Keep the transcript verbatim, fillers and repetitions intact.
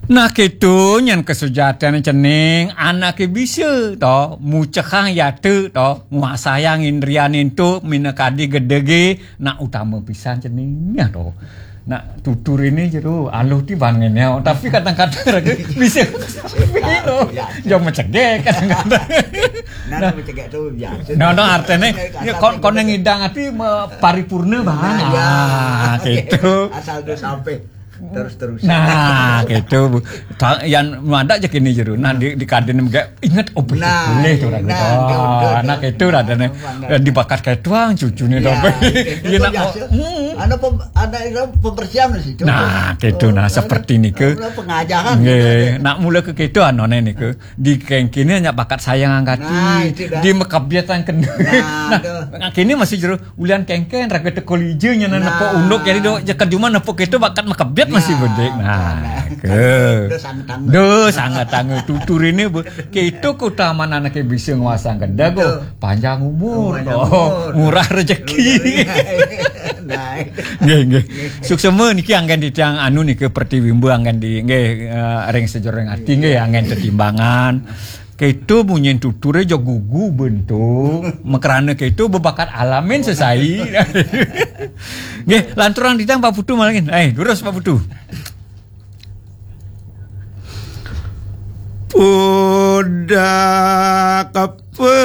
Nah, kéto nyén kasujatian cening anaké bisa to, mucekang yata to, nguasayang indriané ento minakadi gedegé, nah utama pisan ceningnya to. Nah, tuturiné jero aluh ti ban ngenéo, tapi kadang-kadang raga bisa to. Jam macegek kadang-kadang. Nah, nah, macegek to biasa. Nah, nah, artinya, ya, kon, kon ngidang ati ma-, paripurna bahan. Nah, ya. Ah, gitu. Asal tuh sampai. Terus-terusan. Nah, gitu, Bu. Ta-, yang ada aja kini jero. Nah, di, di kadin juga inget, oh, boleh, nah, boleh tuh, nah, ragu. Nah, gitu, nah, gitu, nah, gitu. Nah, dibakat kayak tuang cucunya. Ya, dong. Iya, gitu, nak, biasa. Oh, hmm. Ada pem-, ada itu pembersihan di situ. Nah, gitu, nah, seperti ini ke. Ada pengajaran. Nggih, gitu. Nak mula ke gitu, anu, nih, ke. Di kengkini hanya bakat sayang angkati. Nah, itu dah. Di mekabiatan kena. Nah, nah, tuh. Nah, kini masih jero ulian kengken, raga teka lija nyana. Nah. Nepuk unduk, jadi do, jekar juma nepuk itu bakat mekebet masih bedik. Nah, nah, ke. Dos sangat tangga. Dos sangat tangga. Tutur ini, Bu. Kita keutamaan anaknya bisa nguasang gedeg, betul. Panjang umur, oh, panjang umur. Murah rezeki. Murah rezeki. Nah, itu. Nggih, nggih. Suksema niki anggen titiang anu niki pertiwimba anggen di, nggih, eh, ring sajroning ati nggih anggen tetimbangan. Keto munyin tuture ja gugu bento. Makrana keto bebakat alamin sesai. Nggih, lanturang titiang Pak Putu malih. Eh, durus Pak Putu. Pudak apa?